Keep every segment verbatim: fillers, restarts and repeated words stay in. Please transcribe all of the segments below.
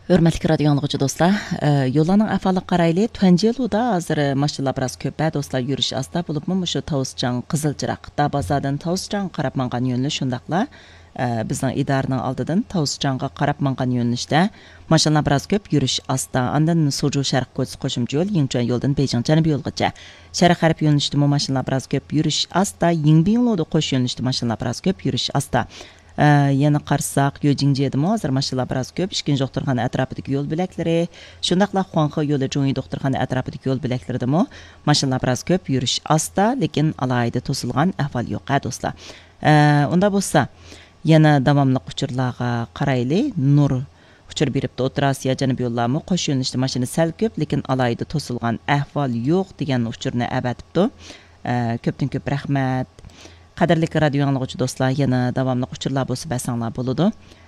ھۆرمەتلىك رادىيو ئاڭلىغۇچى دوستلار، ئە، يوللارنىڭ ئەھۋالىغا قارايلى. تۇەنجيېلۇدا ھازىر ماشىنىلار بىراز كۆپ، ھە، دوستلار، يۈرۈش ئاستا، بولۇپمۇ مۇشۇ تاۋۇسچاڭ قىزىل چىراغ، دابازادىن تاۋۇسچاڭغا قاراپ ماڭغان يۆنىلىش، شۇنداقلا، ئە، بىزنىڭ ئىدارىنىڭ ئالدىدىن تاۋۇسچاڭغا قاراپ ماڭغان يۆنىلىشتە ماشىنىلار بىراز كۆپ، يۈرۈش ئاستا. ئاندىن سۇجۇ شەرق كوچىسى قوشۇمچە يول، يىڭچۈەن يولىدىن بېيجىڭ جەنۇبىي يولغىچە. شەرق غەرب يۆنىلىشتىمۇ ماشىنىلار بىراز كۆپ، يۈرۈش ئاستا. يىڭبىڭلۇدا قوش يۆنىلىشتە ماشىنىلار بىراز كۆپ، يۈرۈش ئاستا. ئە، يەنە قارىساق، يۆجىڭجيېدىمۇ ھازىر ماشىنىلار بىراز كۆپ. ئىككىنچى دوختۇرخانا ئەتراپىدىكى يول بۆلەكلىرى، شۇنداقلا خۇاڭخې يولى جۇڭيى دوختۇرخانا ئەتراپىدىكى يول بۆلەكلىرىدىمۇ ماشىنىلار بىراز كۆپ، يۈرۈش ئاستا، لېكىن ئالاھىدە توسۇلغان ئەھۋال يوق، ھە، دوستلار. ئە، ئۇنداق بولسا، يەنە داۋاملىق ئۇچۇرلارغا قارايلى. نۇر ئۇچۇر بېرىپتۇ، ئوتتۇرا ئاسىيا جەنۇبىي يوللارمۇ قوش يۆنىلىشتە ماشىنا سەل كۆپ، لېكىن ئالاھىدە توسۇلغان ئەھۋال يوق دېگەن ئۇچۇرنى ئەۋەتىپتۇ. ئە، كۆپتىن كۆپ رەھمەت. قەدىرلىك رادىيو ئاڭلىغۇچى دوستلار، يەنە داۋاملىق ئۇچۇرلار بولسا بەرسەڭلار بولىدۇ.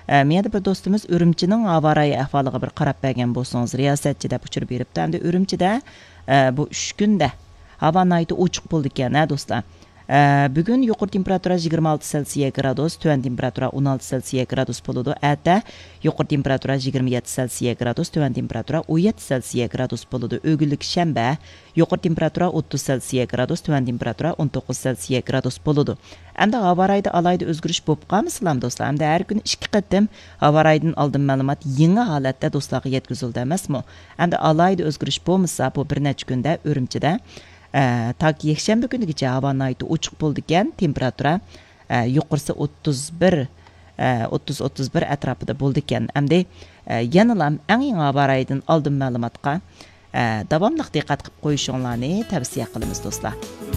ئە، مېيەدە بىر دوستىمىز ئۈرۈمچىنىڭ ھاۋا رايى ئەھۋالىغا بىر قاراپ بەرگەن بولسىڭىز رىياسەتچى دەپ ئۇچۇر بېرىپتۇ. ئەمدى ئۈرۈمچىدە، ئە، بۇ ئۈچ كۈندە ھاۋا ناھايىتى ئوچۇق بولىدىكەن، ھە، دوستلار. ئە، بۈگۈن يۇقىرى تېمپېراتۇرا يىگىرمە ئالتە سېلسىيە گرادۇس، تۆۋەن تېمپېراتۇرا ئون ئالتە سېلسىيە گرادۇس بولىدۇ. ئەتە يۇقىرى تېمپېراتۇرا يىگىرمە يەتتە سېلسىيە گرادۇس، تۆۋەن تېمپېراتۇرا ئون يەتتە سېلسىيە گرادۇس بولىدۇ. ئۆگۈنلۈك شەنبە، يۇقىرى تېمپېراتۇرا ئوتتۇز سېلسىيە گرادۇس، تۆۋەن تېمپېراتۇرا ئون توققۇز سېلسىيە گرادۇس بولىدۇ. ئەمدى ھاۋا رايىدا ئالاھىدە ئۆزگىرىش بولۇپ قالمىسىلام، دوستلار. ئەمدى ھەر كۈنى ئىككى قېتىم ھاۋا رايىدىن ئالدىن مەلۇمات يېڭى ھالەتتە دوستلارغا يەتكۈزۈلدى ئەمەسمۇ؟ ئەمدى ئالاھىدە ئۆزگىرىش بولمىسا، بۇ بىر نەچچە كۈندە ئۈرۈمچىدە، ئە، تاكى يەكشەنبە كۈنىگىچە ھاۋا ناھايىتى ئوچۇق بولىدىكەن، تېمپېراتۇرا، ئە، يۇقىرىسى ئوتتۇز بىر، ئە، ئوتتۇز، ئوتتۇز بىر ئەتراپىدا بولىدىكەن. ئەمدى، ئە، يەنىلا ئەڭ يېڭى ھاۋا رايىدىن ئالدىن مەلۇماتقا، ئە، داۋاملىق دىققەت قىلىپ قويۇشۇڭلارنى تەۋسىيە قىلىمىز، دوستلار.